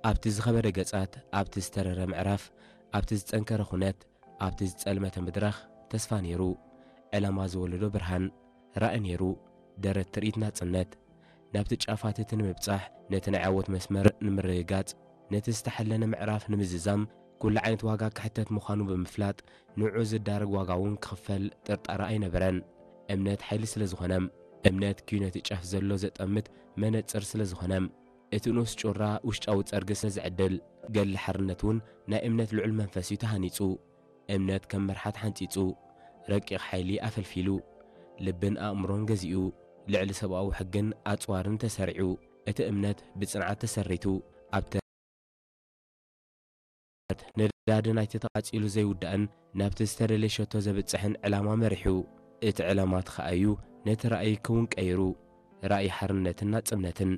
ኣብቲ ዝኸበደ ገጻት፣ ኣብቲ ዝተረረ ምዕራፍ፣ ኣብቲ ዝጸንከረ ኩነት፣ ኣብቲ ዝጸልመተ ምድራኽ ተስፋ ነይሩ። ዕላማ ዝወለዶ ብርሃን፣ ራኢ ነይሩ። ደረት ትርኢት ናጽነት። ናብቲ ጫፋት እቲ ንምብጻሕ፣ ነቲ ናይ ዓወት መስመር ንምርግጋጽ፣ ነቲ ዝተሓለነ ምዕራፍ ንምዝዛም፣ ኩሉ ዓይነት ዋጋ ክሕተት ምዃኑ ብምፍላጥ፣ ንዑ ዝዳረግ ዋጋ እውን ክኽፈል ጥርጣረ ኣይነበረን። እምነት ሓይሊ ስለ ዝኾነ፣ እምነት ኪዩ ነቲ ጫፍ ዘሎ ዘጠምት መነጽር ስለ ዝኾነ፣ እቲ ንኡስ ጩራ ውሽጣዊ ጸርጊ ስለ ዝዕድል፣ ገድሊ ሓርነት እውን ናይ እምነት ልዑል መንፈስ እዩ ተሃኒጹ። እምነት ከም መርሓት ሓንጺጹ፣ ረቂቕ ሓይሊ ኣፈልፊሉ፣ ልብን ኣእምሮን ገዚኡ፣ ልዕሊ ሰብኣዊ ሕግን ኣጽዋርን ተሰሪዑ፣ እቲ እምነት ብጽንዓት ተሰሪቱ፣ ኣብ ተረት ነዳዲ ናይቲ ተቓጺሉ ዘይውዳእን ናብቲ ዝተደለየ ሸቶ ዘብጽሕን ዕላማ መሪሑ። እቲ ዕላማ ተኸኣዩ ነቲ ራእይ ክውን ቀይሩ፣ ራእይ ሓርነትን ናጽነትን።